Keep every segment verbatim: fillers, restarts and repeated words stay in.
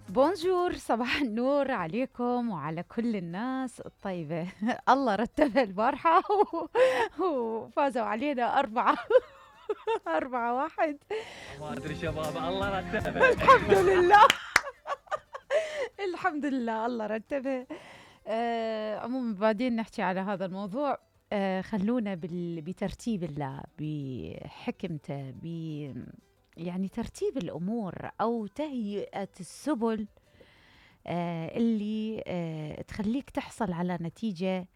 بونجور، صباح النور عليكم وعلى كل الناس الطيبة. الله رتبها البارحة وفازوا علينا أربعة. أربعة واحد. ما ادري شباب، الله رتبها. الحمد لله. الحمد لله الله رتبها. آه عموما بعدين نحكي على هذا الموضوع. آه خلونا بال... بترتيب الله، بحكمته، ب يعني ترتيب الأمور أو تهيئة السبل آه اللي آه تخليك تحصل على نتيجة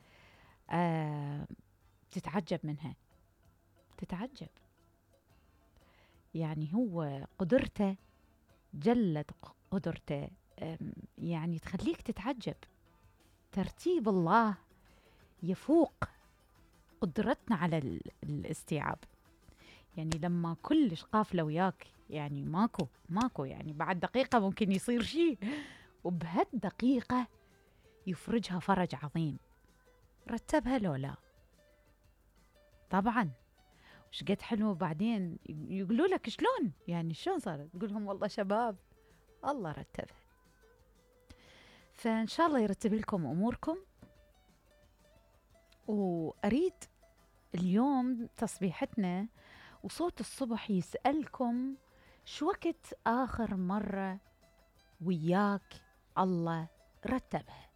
آه تتعجب منها. تتعجب يعني هو قدرته جلت قدرته، يعني تخليك تتعجب. ترتيب الله يفوق قدرتنا على الاستيعاب. يعني لما كلش قافلة وياك، يعني ماكو ماكو يعني بعد دقيقة ممكن يصير شيء، وبهالدقيقة يفرجها فرج عظيم. رتبها لو لا؟ طبعا. وش قد حلو. بعدين يقولوا لك شلون، يعني شلون صارت؟ تقول لهم والله شباب الله رتبها. فإن شاء الله يرتب لكم أموركم. وأريد اليوم تصبيحتنا وصوت الصبح يسألكم شو وقت آخر مرة وياك الله رتبها؟